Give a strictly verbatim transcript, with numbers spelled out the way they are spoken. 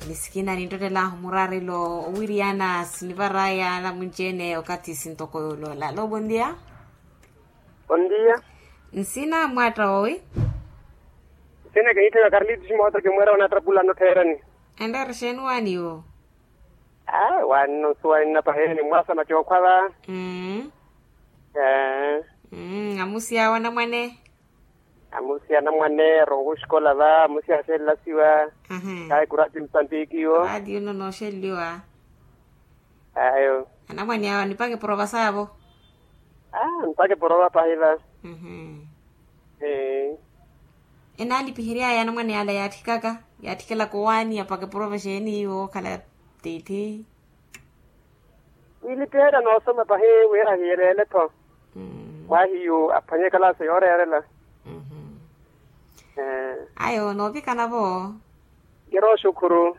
Ni sikina ninttottelahu murarelo owiriyana sinivaraya namunci-ene okathi sintoko yooloola alo bondia. Bondia. Nsina mwaatta woowi? Nsina kiniitthaka karliti ximoota kimweera wanaatapulano ttheerani. Enreera exeeni waaniwo? Aa waanino nsuwa ninnapaheni mwasama cookhwa va. Mmm. Amusiya wanamwane. Amusiya anamwane arowa oxikola va amusiya axeelelasiwa. Kaayi kurati musambiki iwo. Raatiyo nno nooxeleliwa. Ayo. Anamwane awo anipaka eporova saavo. Aa nipaka eporova pahi va. Enaalipiheryaya anamwane ala yaatthikaka, yaatthikelaka owaani apaka eporova exeeni iwo okhala tiithi. Wiilipiherya noosoma pahi wira hiyeleele-tho. Mwahiyu aphwanye ekalaasi yooreerela. Ayo noovikana-vo. Kiro xukhuru.